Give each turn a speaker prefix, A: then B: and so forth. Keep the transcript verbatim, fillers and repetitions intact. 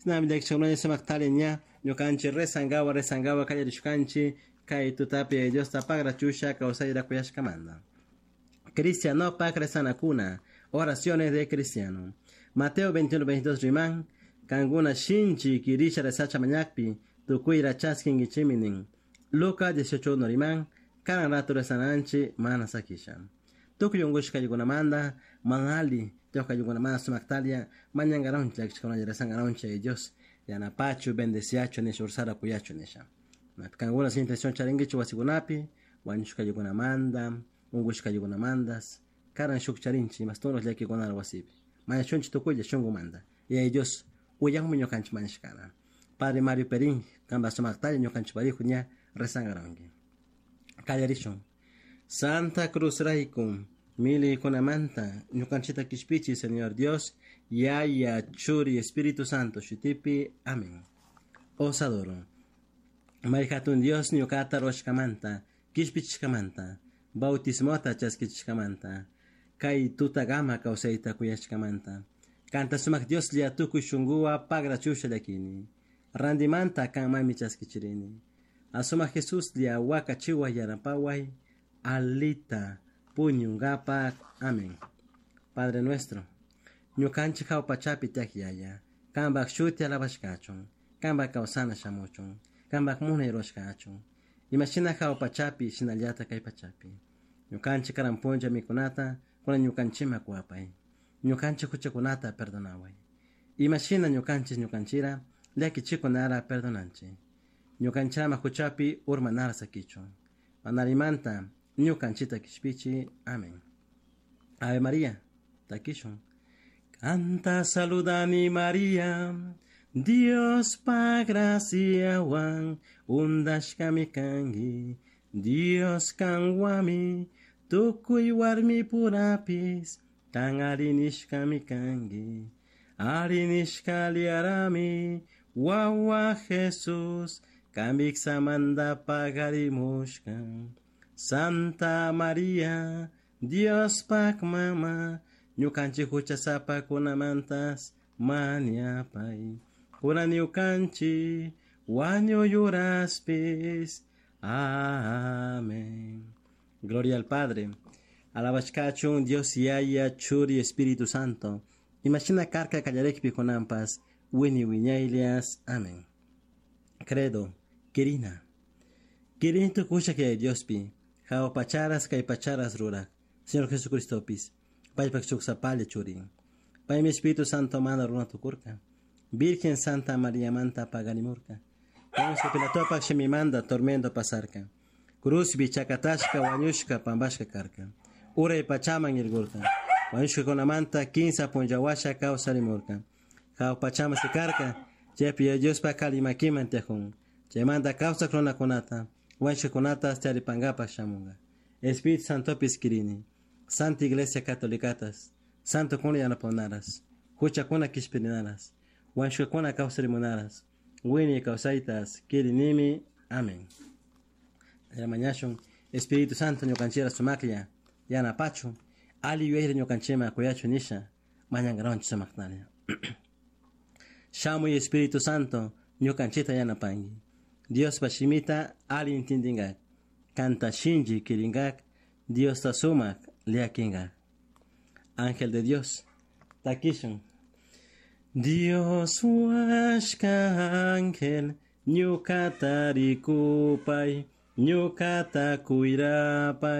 A: Shinami llakishkakunalla sumak tali ña ñukanchik rezankawa rezankawa kallarishkanchik kay tutapi Diosta pagrachusha kawsayra kuyashkamanta. Cristiano pak rezanakuna, oraciones de cristiano. Mateo veintiuno veintidós riman, kankuna shinchi kirisha rezacha mañakpi, tukuyra chaskinkichimi nin. Lucas dieciocho uno riman, karan rato rezananchi mana sakisha. Tukuy unkushkaykunamanta, manali, tiyuqaykunamanta sumaktalia, mañankaronchik llakishkakunalla rezankaronchik Dios, yanapachu, bendeciachu nisha, ursara kuyachu nisha. Kankuna sin intención charinkichik wasikunapi, wañushkaykunamanta, unkushkaykunamantas, karan shuk charinchik imastunos llakikunara wasipi. Mañachunchik tukuylla shunkumanta. Y Dios uyanmi ñukanchik mañashkana. Padre Mario Perín, kanpa sumaktalla ñukanchik parihu ña rezankaronki. Kallarishun. Santa Cruz rayku, millaykunamanta, ñukanchikta kishpichi, Señor Dios, Yaya, Churi, Espíritu Santo, shutipi, amén. Os adoro. May hatun Dios ñukata ruwashkamanta, kishpichishkamanta, bautismota chaskichishkamanta, kay tutagama kawsayta kuyashkamanta. Kanta sumak Dios lia tukuy shunkuwa pagrachusha llakini. Randimanta kanmanmi chaskichirini. Asuma Jesús lia wakachiwa yanapaway, alita puñungapak. Amén. Padre nuestro, ñukanchik hawpachapi tiyak Yaya, kanpak shuti alabashkachun, kanpak kawsana shamuchun, kanpak munay ruwashkachun, imashina hawpachapi shinallata kay pachapi. Ñukanchik karan punlla mikunata kunan ñukanchikman kuwapay, ñukanchik huchakunata perdonaway, imashina ñukanchik ñukanchira llakichikunara perdonanchik, ñukanchirama huchapi urmanara sakichun, manarimanta ñukanchita kishpichi. Amén. Ave María, takishun. Canta saludani María, Dios pa graciawan, undashkami kanki, Dios kanwami, tukuy warmi purapis, kan arinishkami kanki, arinishka liarami, wawa Jesús, kamiksamanta pagarimushka. Santa María, Dios pak mama, ñukanchik huchasapakunamantas mañapay. Kunan ñukanchik wañuyuraspis. Amén. Gloria al Padre. Alabashkachun Dios Yaya, Churi, Espíritu Santo. Imashina karka kallarikpi kunanpas, wini wiñaylias. Amén. Credo, Kirina. Kirin tukusha que Diospi, jao pacharas kay pacharas rurak, Señor Jesucristopis, paypak shuksapalla churin. Paymi Espíritu Santo mana runa tukurka, Virgen Santa María manta pagarimurka, Poncio Pilatopak shimimanda tormento pasarka, Cruzbi chakatashka wañushka pambashka karka, Uray pachaman irgurka, wañushka kunamanta kinsa punllawasha kawsarimurka, Jao pachama sikarka, chaypi Diospa kalimakiman tiyajun, chaymanta kawsak runakunata, wañushkakunata charipankapak shamunka. Espíritu Santopis kirini, Santa Iglesia Catolicatas, Santo kuna yanapakunaras, huchakuna kishpirinaras, wañushkakuna kawsarimunaras, wiñay kawsaytas kirinimi. Amén. Mañashun, Espíritu Santo ñukanchira sumaklla, yanapachu, ali yuyayta ñukanchikman kuyachu nisha, mañankaronchik sumaktalla. Shamuy Espíritu Santo ñukanchikta yanapanki. Diospa shimita ali intindinkak, kanta shinchi kirinkak, Diosta sumak llakinkak. Ángel de Dios, takishun. Dios huashka ángel, ñukata rikupay, ñukata kuyrapay.